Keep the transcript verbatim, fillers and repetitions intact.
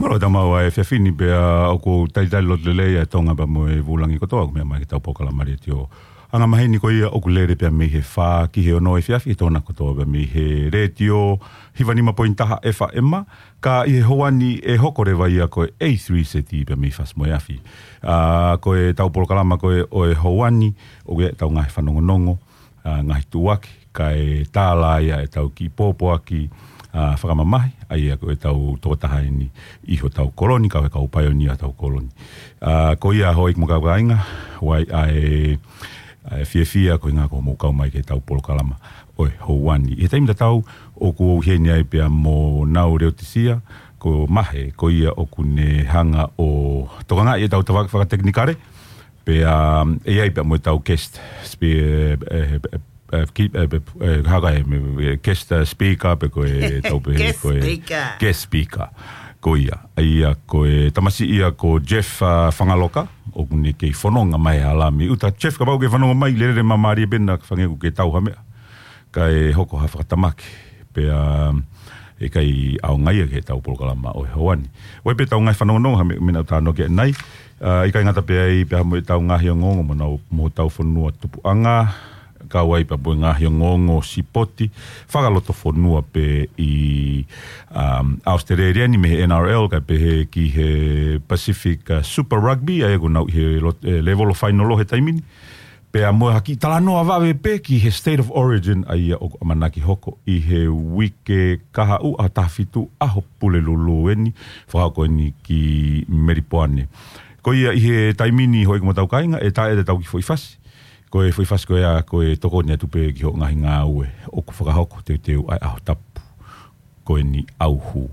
Mālō e tau maʻu ʻa e efiafi ni pea ʻoku talitali loto lelei ʻa Tonga pea mo e vūlangi kotoa ʻoku meʻa mai ki heʻetau polokalama letiō. Anga maheni ko ia ʻoku lele pea mei he fā ki he ono efiafi he Tonga kotoa pea mei he letiō hiva nima poini taha F M. Ka ʻi he houa ni ʻe hoko leva ia ko e A three Z pea mei fasi mo e afi. ʻA, ko ʻetau polokalama ko ē ʻo e houa ni, ʻoku ʻi ai ʻetau ngaahi fanongonongo, ʻa, ngaahi tuʻuaki, kae tālā ia ʻetau kiʻi pōpoaki, ʻa, fakamamahi, ʻa ia ko ʻetau tokotaha eni ʻi hotau kolo ni, kau he kau paionia hotau kolo ni. ʻA, ko ia houʻeiki mo e kau kāinga, ʻoku ʻi ai ʻa e, ʻa e fiefia ko e ʻuhinga ko hoʻomou kau mai ki heʻetau polokalama ʻo e houa ni. ʻI he taimi tatau ʻoku ou ʻi heni ai pea mo Nau Leotisia, ko Mahe, ko ia ʻoku ne hanga ʻo tokangaʻi ʻetau tafaʻaki fakatekinikale, pea, um, ʻe ʻi ai pea mo ʻetau guest spe-, eh, eh, eh, ki-, eh, eh, eh, haka e me, eh, guest, eh, speaker pe ko e tau pe Guest ko e speaker. Guest speaker. Ko ia, ʻa ia ko e tamasiʻi ia ko Jeff, ah, Fangaloka, ʻoku ne kei fononga mai ʻa Lami. ʻUta Jeff kapau ʻoku ke fanongo mai, lele māmālie pē naʻa ke fangē ʻoku ke tau ha meʻa. Kae hoko ha fakatamaki. Pea, um, ʻe ʻikai ʻaonga ia ki heʻetau polokalama ʻo e houa ni. ʻOku ʻi ai pē ʻetau ngaahi fanongonongo, ha meʻa, meʻa naʻa tau talanoa ki ai ʻanenai. ʻA, ʻikai ngata pē ai pea mo ʻetau ngaahi ongoongo mo nau, mo hotau fonua tupuʻanga, kau ai pea mo e ngaahi ongoongo sipoti, fakalotofonua pē ʻi, um, ʻAositelēlia ni mei he N R L, kae pehē ki he Pacific, uh, Super Rugby, ʻa ia ʻoku nau ʻi he lo-, eh, level ʻo e fainolo he taimi ni. Pea mo ha kiʻi talanoa vave pē ki he State of Origin, ʻa ia ʻoku ʻamanaki hoko ʻi he uike kahaʻu ʻaho taha fitu ʻaho Pulelulu eni, fakahoko eni ki Melipoane. Ko ia ʻi he taimi ni houʻeiki mo e kau kāinga, ʻe tā ʻetau kiʻi foʻi fasi. Ko e foʻi fasi ko ia, ko e tokoni atu pē ki hoʻo ngaahi ngāue ʻoku fakahoko teuteu ʻa e ʻaho tapu ko eni ʻauhū.